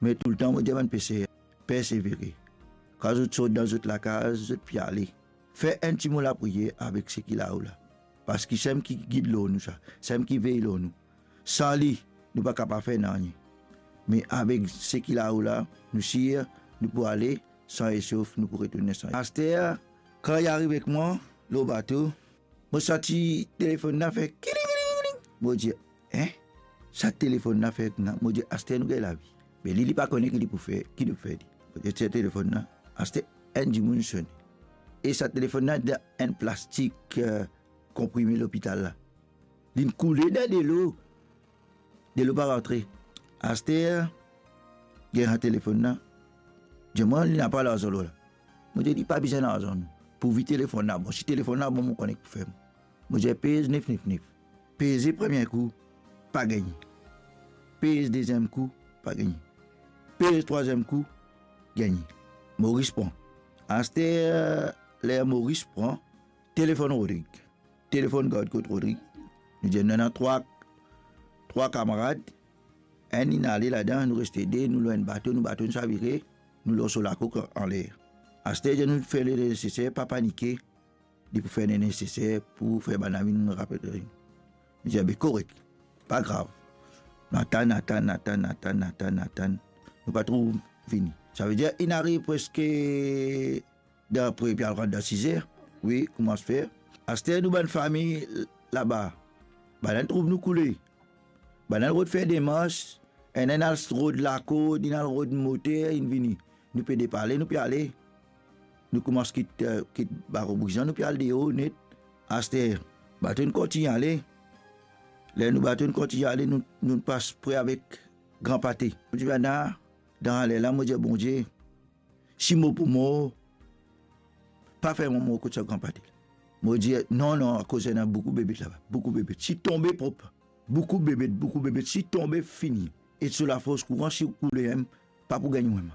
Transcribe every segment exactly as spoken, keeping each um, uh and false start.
Me toultan mo dir bann peser, persevere. Kan zot sort dan zot lakaz, zot pe ale, fer enn ti mo lapriyer avek seki lao la, parski sem ki gid lor nou sa, sem ki vey lor nou. San li, nou pa kapav fer nanye. Me avek seki lao la, nou sir nou pou ale san esof, nou pou retourne san. Aster, kan li ariv ek mwa lor bato, mo santi telefonn la fer kiling, kiling, kiling. Mo dir, "En? Sa telefonn la fer kouma?" Mo dir, "Aster nou gagn lavi." Me li, li pa kone ki li pou fer, ki li pou fer li. Mo dir, "Tir telefonn la, aster enn dimoun sone." E sa telefonn la dan enn plastik, eh, konprime lopital la. Linn koule dan delo. Delo pa rantre. Aster, gagn sa telefonn la. Dir mwa, "Li napa larzan lor la." Mo dir, "Li pa bizin larzan non. Pourvi telefonn la bon. Si telefonn la bon, mo kone ki pou fer mwa." Mo dir, "Pez nef nef nef." Peze premie kou, pa gagne. Pez deziem kou, pa gagne. Pez trwaziem kou, gagne. Moris pran. Aster, ler Moris pran, telefonn Rodrig. Telefonn gard kot Rodrig. Nou dir nou ena trwa, trwa kamarad. Enn inn ale ladan, nou reste de, nou lor enn bato, nou bato inn savire, nou lor so lakok anler. Aster dir nou fer leneseser, pa panike, li pou fer leneseser pou fer bann la vinn rapel li. Nou dir, "Be korek, pa grav." Nou atann, atann, atann, atann, atann, atann. Nou pa trouv vini. Savedir, inn ariv preske dan pre, pe al rant dan sizer. Wi, koumans fer. Aster nou bann fami laba, bannla trouv nou koule. Bannla rod fer demars, enn enn al rod lakord, inn al rod moter, inn vini. Nou pe depale, nou pe ale. Nou koumans kit, eh, kit Baro Brizan, nou pe al deor net. Aster, bato inn kontign ale. Ler nou bato inn kontign ale, nou, nou pas pre avek Gran Pate. Nou dir bannla, dan ler la, mo dir Bondie, si mo pou mor, pa fer mo mor kot sa Gran Pate la. Mo dir, "Non, non, akoz ena boukou bebet laba, boukou bebet. Si tonbe prop, boukou bebet, boukou bebet, si tonbe fini." E so lafors kouran, si ou koule enn, pa pou gagn ou enn.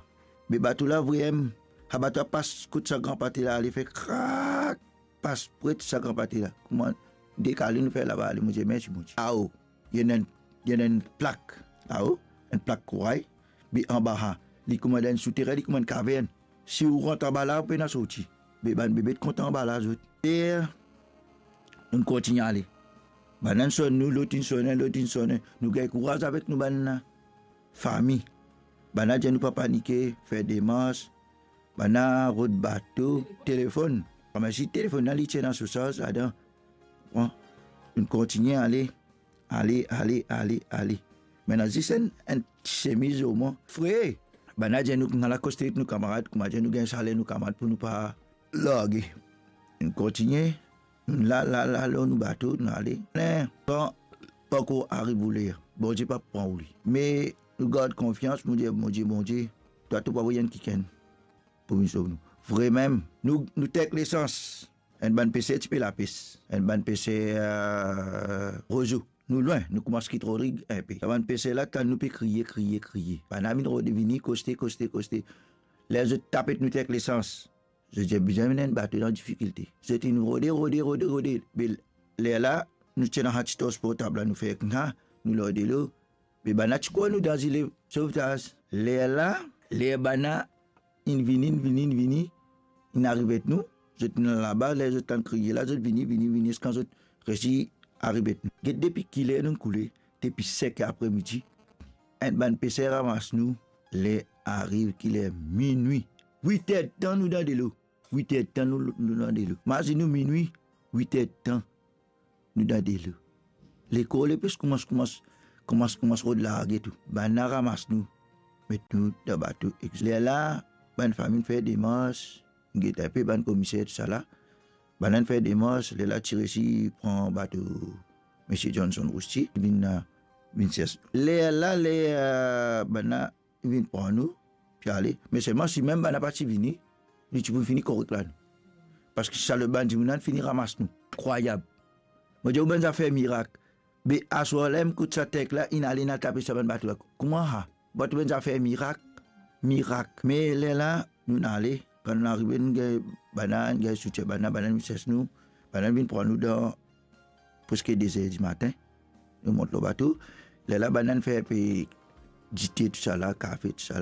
Me bato la vremem, sa bato la pas kot sa Gran Pate la, ale fer krak, pas pre sa Gran Pate la. Kouma dekale nou fer laba ale, mo dir, "Mersi Bondie." Ao, ena enn, ena enn plak lao, enn plak koray, be anba sa, li kouma dan enn souterin, li kouma enn kavern. Si ou rant anba la, ou pena sorti. Be bann bebet kontan anba la zot. E nou kontign ale. Bannla inn sonn nou, lot inn sonn, lot inn sonn. Nou gagn kouraz avek nou bann fami. Bannla dir nou pa panike, fer demars. Bannla rod bato, telefonn. Kouma si telefonn la, li ti ena so sarz ladan. Bon, nou kontign ale. Ale, ale, ale, ale. Mem zis enn, enn ti semiz lor mwa. Fre. Bannla dir nou, nou al akoste nou kamarad, kouma dir nou gagn saler nou kamarad pou nou pa large. Nou kontign, nou la, la, la, lor nou bato, nou ale. Kan pankor ariv ou ler, Bondie pa pran ou li. Me nou gard konfians, nou dir, "Bondie, Bondie, twa to pou avoy enn kikenn pou vinn sov nou." Vremem, nou, nou tek lesans. Enn bann peser ti pe lapes, enn bann peser, eh, rezo. Nou lwin, nou koumans kit Rodrig inpe. Sa bann peser la tann nou pe kriye, kriye, kriye. Bannla vinn rode, vini koste, koste, koste. Ler zot tapet nou tek lesans, zot dir bizin amenn enn bato dan difikilte. Zot inn rode, rode, rode, rode. Be lerla, nou ti ena sa ti tors portab la, nou fer koumsa, nou lor delo. Me bannla ti krwar nou dan zile sovtaz. Lerla, ler bannla inn vini, inn vini, inn vini, inn ariv et nou, zot inn laba, ler zot tann kriye la, zot vini, vini, vini, ziska zot resi ariv et nou. Get depi kiler nou koule, depi sink er apremidi, enn bann peser ramas nou, ler ariv kiler, minwi, wit er tan nou dan delo. Wit er tan nou, nou dan delo. Mazinn ou minwi, wit er tan nou dan delo. Lekor lepes koumans, koumans, koumans, koumans rod large tou. Bannla ramas nou, met nou dan bato. Lerla, bann fami fer demars, nou get inpe bann komiser, tousala. Bannla fer demars, lerla ti resi pran bato Misie Johnson Rousty, vinn, vinn sers. Lerla, ler, eh, bannla vinn pran nou, pe ale. Me selman si mem bannla pa ti vini, nou ti pou fini korek la nou. Parski sa lot bann dimoun la fini ramas nou. Inkrwayab. Mo dir ou bann zafer mirak. Be aswar la, kot sa tank la inn ale, inn al tape sa bann bato la. Kouma sa? Bato bann zafer mirak, mirak. Me lerla, nou ale, kan nou arive, nou gagn bannla, nou gagn soutien bannla, bannla vinn sers nou, bannla vinn pran nou dan preske de zer dimatin. Nou mont lor bato. Lerla bannla fer pe dite, tousala, kafe, tousala.